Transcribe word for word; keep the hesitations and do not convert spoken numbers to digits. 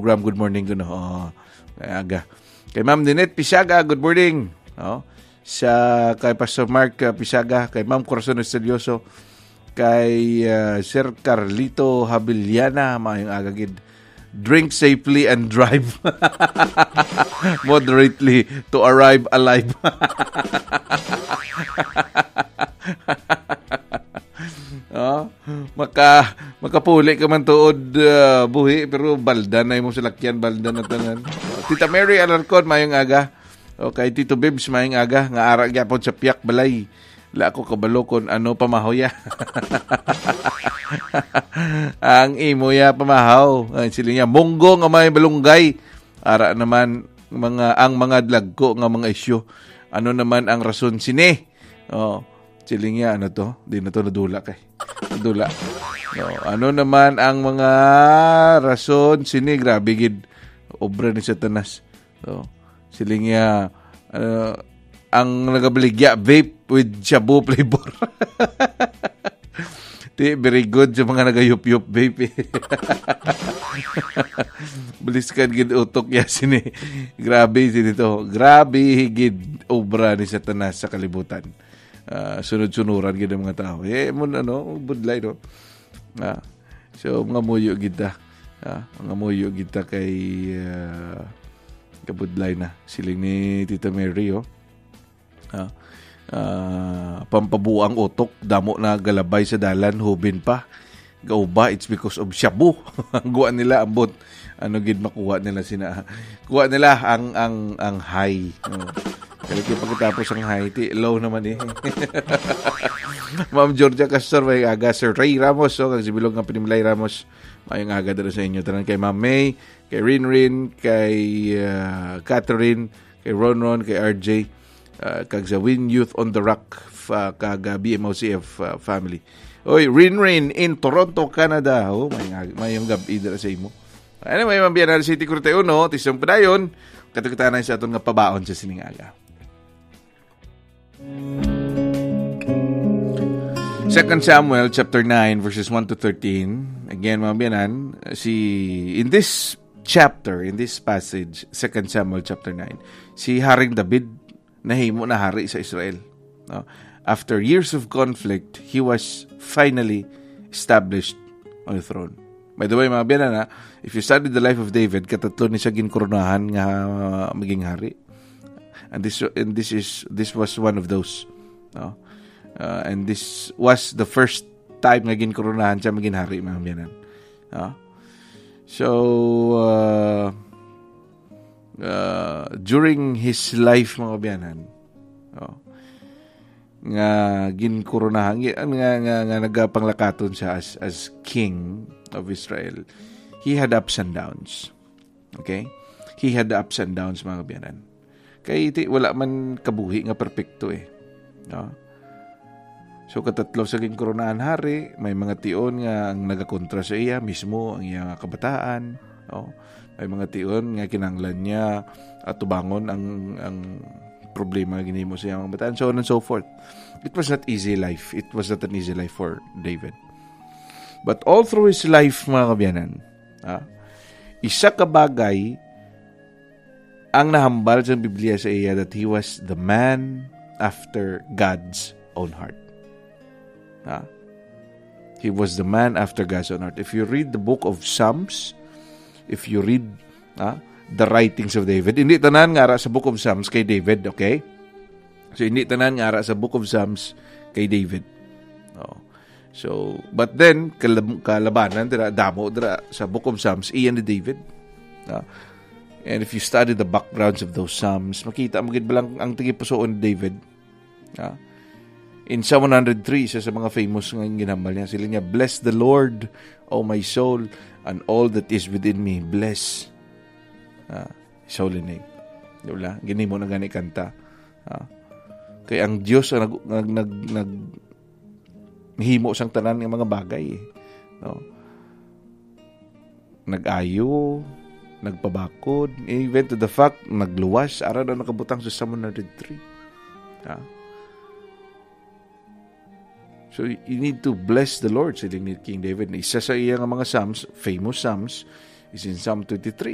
Ram, good morning kuno. Oh, kay aga. Kay Ma'am Ninette Pisaga, good morning. Oh, sa kay Pastor Mark, uh, Pisaga, kay Ma'am Corazon Estudioso, kay, uh, Sir Carlito Habiliana, maayong aga gid. Drink safely and drive moderately to arrive alive. Oh, maka makapuli ka man tuod, uh, buhi, pero balda na imong salakyan, balda na tanan. Tita Mary Alarcon, maayong aga. Okay, Tito Bibs, maayong aga. Nga ara gyapon sa piyak balay. Wala ko kabalo kung ano pamahaw ya. Ang imo ya pamahaw. Ay, sila niya, munggo nga may balunggay. Ara naman, mga, ang mga dagko nga mga isyu. Ano naman ang rason sini? Oh, siling niya, ano to? Di na to nadula kay. Nadula. No, ano naman ang mga rason sini? Grabe gid. Obra ni Satanas. So, siling niya, uh, ang nagabaligya, vape with shabu flavor. Di, very good sa mga nagayup-yup vape, eh. Baliskan gid utok ya sini. Grabe sini to. Grabe gid obra ni Satanas sa kalibutan. Ah, sunod-sunuran gid ang mga tao. Eh, mo, ano, budlay, no? Ah, so, mga muyo gid ta. Ah, mga muyo gid ta kay, ah, kabudlay na. Siling ni Tita Mary, oh. Ah, ah, pampabuang utok, damo na galabay sa dalan, hubin pa. Gauba, it's because of shabu. Ang guwa nila, ambot. Ano gid makuha nila sina? Kuha nila ang, ang, ang high. Oh. Pero di pagkatapos ang high, ti, low naman eh. Ma'am Georgia Castor, may aga. Sir Ray Ramos, oh, kag si Bilog nga Pinimlay Ramos. Mayong aga dira sa inyo. Tanan kay Ma'am May, kay Rinrin, kay, ah, Catherine, kay Ronron, kay R J, ah, kag sa Win Youth on the Rock, fa-, kag, ah, B M O C F, ah, family. Oy, Rin Rin in Toronto, Canada. Oh, may nga, mayong gab-i dira sa imo. Anyway, Mambiyanan City, Corte Uno, tisong padayon, katukitanan sa aton nga pabaon sa sining aga. Second Samuel chapter nine, verses one to thirteen. Again, mga biyanan, si, in this chapter, in this passage, Second Samuel chapter nine, si Haring David nahimo na hari sa Israel. No? After years of conflict, he was finally established on the throne. By the way, mga biyanan, ha, if you study the life of David, katatlo ni siya ginkoronahan nga maging hari. And this, and this is, this was one of those. No? Uh, and this was the first time nga ginkoronahan siya maging hari, mga biyanan. No? So, uh, uh, during his life, mga biyanan, no? Nga ginkoronahan, nga, nga, nga nagapanglakaton siya as, as king of Israel, he had ups and downs. Okay? He had ups and downs, mga kabiyanan. Kay ti-, wala man kabuhi nga perpekto eh. No? So, katatlo sa ginkoronahan hari, may mga tion nga ang nagakontra sa iya, mismo ang iya nga kabataan. No? May mga tion nga kinahanglan niya atubangon ang, ang problema nga ginhimo sa iyang kabataan, so on and so forth. It was not easy life. It was not an easy life for David. But all through his life, mga kabiyanan, ah, isa ka bagay ang nahambal sa Biblia sa iya, that he was the man after God's own heart. Ha? He was the man after God's own heart. If you read the book of Psalms, if you read, ha, the writings of David, hindi tanan nga ara sa book of Psalms kay David, okay? So, hindi tanan nga ara sa book of Psalms kay David. Oh. So, but then, kalab-, kalabanan dira, damo dira sa book of Psalms, iyan ni David. Ah, and if you study the backgrounds of those Psalms, makita mo gid ba lang ang tagipusoon ni David? Ah, in Psalm one hundred three, isa sa mga famous nga ginhambal niya, sila niya, "Bless the Lord, O my soul, and all that is within me, bless, ah, his holy name." Di ba? Ginhimo na gani kanta. Ah, kay ang Dios ang nag-, nag-, nag-, nag-, himo sang tanan nga mga bagay, eh. No? Nag-ayo, nagpabakod, even to the fact, nagluwas, ara na nakabutang sa Psalm one hundred three. Ha? So, you need to bless the Lord, siling ni King David. Isa sa iya nga mga Psalms, famous Psalms, is in Psalm twenty-three.